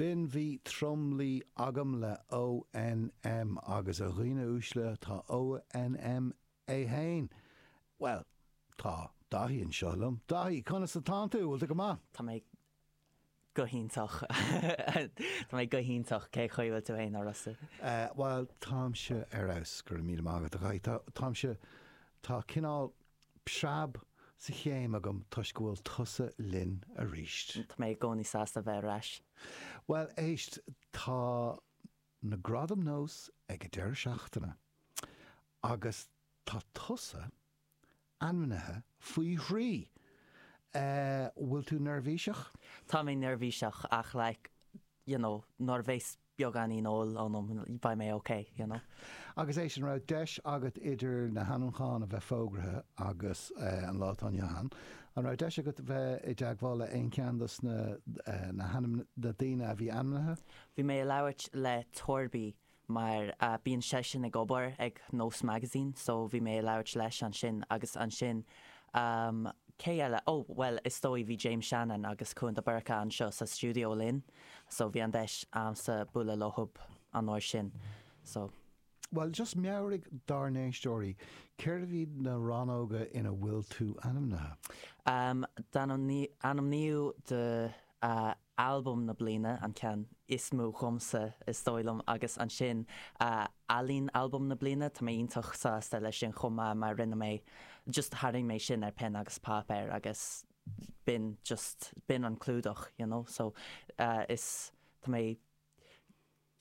B'in Bhí Tromluí Agam le ONM agus a dhaoine uaisle tá ONM é fhéin, bhuel, tá Daithí anseo liom. Daithí, conas atánn tú? Bhfuil tú go maith? Tá mé go hiontach. Tá mé go hiontach. Cén chaoi a bhfuil tú fhéin, a Rossa? Bhuel, táimse ar fheabhas, go raibh míle maith agat, a Dhaithí. Tá, táimse, tá cineál preab sa chéim agam toisc go bhfuil tusa linn arís. Tá mé i gcónaí sásta bheith ar ais. Bhuel, éist, tá na Gradaim Nós ag an deireadh seachtaine agus tá tusa ainmnithe faoi thrí! Bhfuil tú neirbhíseach? Tá mé neirbhíseach ach like, you know, nuair a bheas beagáinín óil ionam, beidh mé ok, you know. Agus éist, an raibh deis agat idir na hainmniúcháin a bheith fógraithe agus an lá atá inniu ann, an raibh deis agat bheith i dteagmháil le aon cheann dos na na hainm na daoine a bhí ainmnithe? Bhí mé ag labhairt le Torby mar bíonn seisean ag obair ag Nós Magazine so bhí mé ag labhairt leis ansin agus ansin cé eile? Oh bhuel is dóigh bhí James Shannon agus Cuan de Búrca anseo sa stiúideo linn so bhí an deis a'msa bualadh leothub an uair sin so. Bhuel just meabhraigh dár n-éisteoirí cérbh iad na rannóga ina bhfuil tú ainmnithe? D'ainmníodh do Albam na bliana, an ceann is mó dhomsa is dóigh liom, agus ansin Ealaín Albam na bliana, tá mé iontach sásta leis sin chomh maith mar rinne mé, just tharraing mé sin ar peann agus páipéar agus b'in just, b'in an clúdach you know so is, tá mé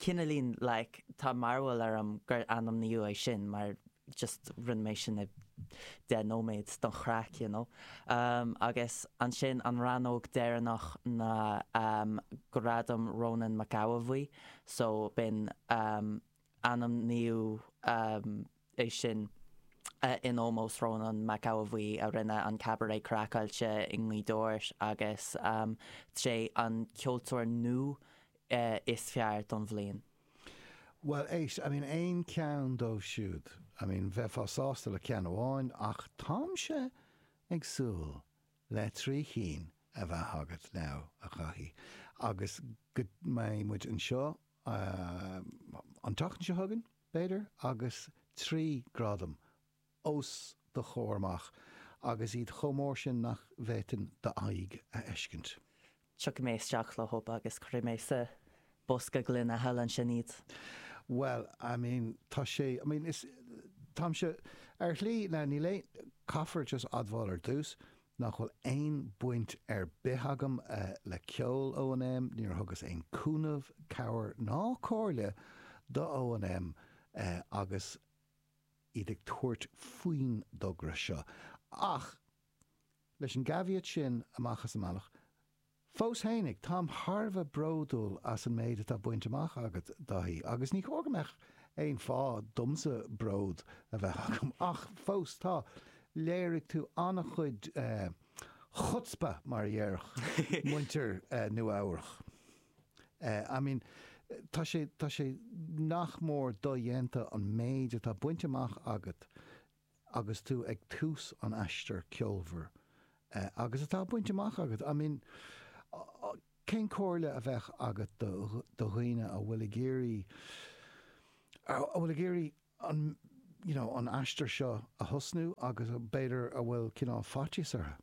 cineáilín like tá mearbhall orm gur ainmníodh é sin mar just rinne mé sin i 10 nóiméad don chraic you know. Um agus ansin an rannóg deireanach ná um Gradam Rónán Mac Aodha Bhuí so b'in um ainmníodh um é sin in ómós Rónán Mac Aodha Bhuí a rinne an Cabaret Craiceáilte i nGaoth Dobhair agus sé an ceoltóir nua is fearr don bhliain. Bhuel, éist, I mean aon cheann dóibh siúd, I mean bheifeá sásta le ceann amháin ach táimse ag súil le 3 chinn a bheith agat now, a Dhaithí, agus go mbeidh muid anseo an tseachtain seo chugainn, b'fhéidir, agus 3 gradam os do chomhair amach agus iad chomh mór sin nach bhféadfainn d'aghaidh a fheiscint. Tiocfaidh mé isteach leothub agus cuirfidh mé sa bosca gloine thall ansin iad. Bhuel, I mean, tá sé, I mean, is, táimse, ar shlí, now níl aon, caithfear just admháil ar dtús, nach bhfuil aon baint ar bith agam le ceol ONM, níor thugas aon cúnamh, cabhair ná comhairle do ONM agus iad ag tabhairt faoin dtogra seo. Ach leis an gcaveat sin amach as an mbealach, Fós fhéinig, táim thar a bheith bródúil as an méid atá bainte amach agat, Dáithí, agus ní chóir go mbeadh aon fáth domsa bród a bheith agam, ach fós tá. Léirigh tú an-chuid chutzpah, mar a dhéarfadh muintir Nua-Eabhrac. I mean, tá sé, tá sé nach mór dodhéanta an méid atá bainte amach agat agus tú ag tús an aistir ceolmhar agus atá bainte amach agat. I mean, cén comhairle a bheadh agat do dhaoine a bhfuil ag iarraidh, a bhfuil ag iarraidh an, you know, an aistear seo a thosnú agus b'fhéidir a bhfuil cineál faitíos orthu?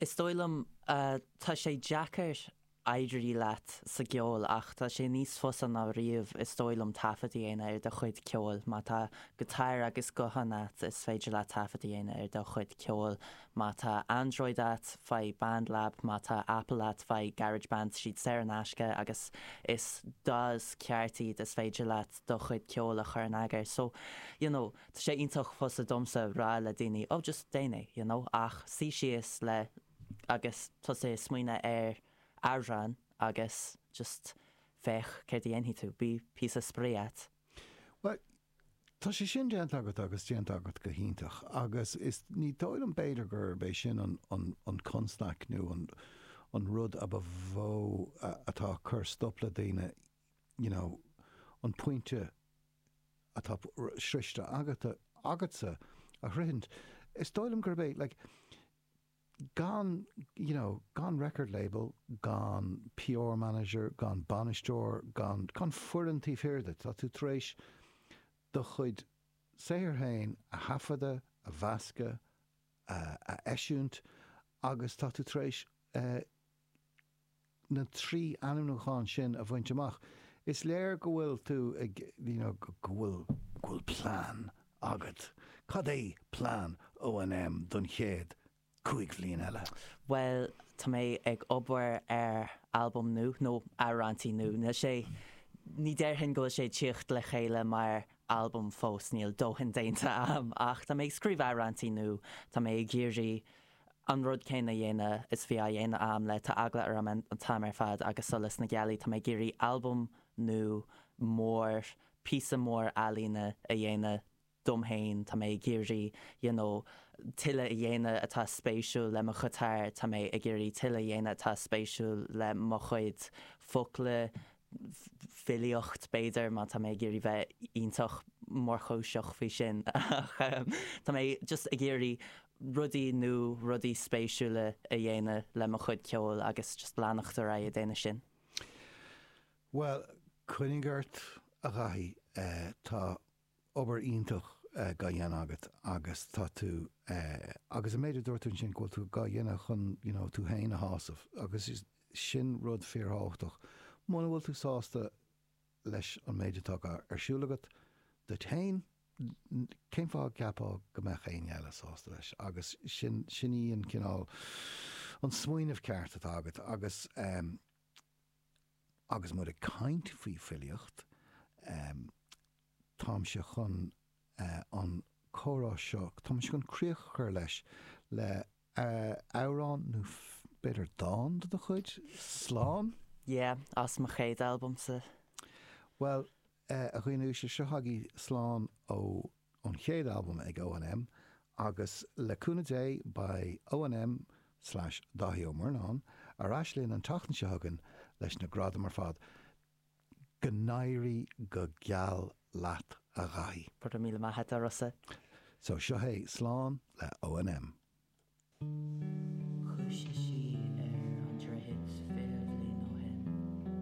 Is dóigh liom, tá sé deacair éirí leat sa gceol ach tá sé níos fusa ná riamh is dóigh liom taifead a dhéanamh ar do chuid ceoil. Má tá guitar agus guthán a't is féidir leat taifead a dhéanamh ar do chuid ceoil. Má tá Android a't faigh BandLab, má tá Apple a't faigh GarageBand, siad saor in aisce agus is DAWs ceart iad is féidir leat do chuid ceoil a chur in eagar. So, you know, Tá sé iontach fusa domsa rá le daoine oh just déan é, you know, ach suí síos le agus tosaigh ag smaoineamh ar amhrán agus just féach céard a dhéanfaidh tú, bí píosa spraoi a't. Bhuel, tá sé sin déanta agat agus déanta agat go hiontach agus is ní dóigh liom b'fhéidir gurb é sin an an an constaic nó an an rud a ba mhó atá ag cur stop le daoine, you know, an pointe atá sroichte agat, agatsa a shroichint. Is dóigh liom gurb é, like, Gan, you know, gan record label, gan PR manager, gan bainisteoir, gan, gan foireann taobh thiar díot, tá tú tar éis do chuid saothair féin a thaifeadadh, a mheascadh, a, a eisiúint agus tá tú tar éis eh, na 3 ainmniúchán sin a bhaint amach. Is léir go bhfuil tú ag, you know, go bhfuil, go bhfuil plean agat. Cad é plean ONM don chéad 5 bhliain eile? Bhuel, tá mé ag obair ar albam nua, nó amhráintí nua. Níl sé, ní déarfainn go bhfuil sé ag tíocht le chéile mar albam fós, níl dóthain déanta a'm, ach tá mé ag scríobh amhráintí nua, tá mé ag iarraidh an rud céanna a dhéanamh is bhí á dhéanamh a'm le Tá Eagla Orm an t-am ar fad agus Solas na Gealaí. Tá mé ag iarraidh albam nua mór, píosa mór ealaíne a dhéanamh dom féin. Tá mé ag iarraidh you know tuilleadh a dhéanamh atá spéisiúil le mo ghiotár, tá mé ag iarraidh tuilleadh a dhéanamh atá spéisiúil le mo chuid focla, filíocht, b'fhéidir, má tá mé ag iarraidh bheith iontach mórchúiseach faoi sin. Ach tá mé just ag iarraidh rudaí nua, rudaí spéisiúla a dhéanamh le mo chuid ceoil agus just leanacht ar aghaidh ag déanamh sin. Bhuel, coinnigh ort, a Dhaithí. Tá obair iontach dhá dhéanamh agat agus tá tú, agus an méid a dúirt tú ansin, go bhfuil tú dhá dhéanamh chun, you know, tú féin a shásamh agus sin rud fíorthábhachtach. Muna bhfuil tú sásta leis an méid atá ar siúl agat duit féin, cén fáth a gceapfá go mbeadh éinne eile sásta leis? Agus sin, sin í an cineál, an smaoineamh ceart atá agat agus, agus muid ag caint faoi filíocht, táimse chun an comhrá seo, táimse chun críoch a chur leis le amhrán nó b'fhéidir dán de do chuid, Slán? Yeah, as mo chéad albamsa. Bhuel, a dhaoine uaisle, seo agaibh Slán ó ón chéad albam ag ONM agus le cúnamh Dé beidh ONM slash Dáithí Ó Murnáin ar ais linn an tseachtain seo chugainn leis na gradaim ar fad. Go n-éirí go geal leat a Dhaithí. Go raibh míle maith agat a Rossa. So seo é Slán le ONM.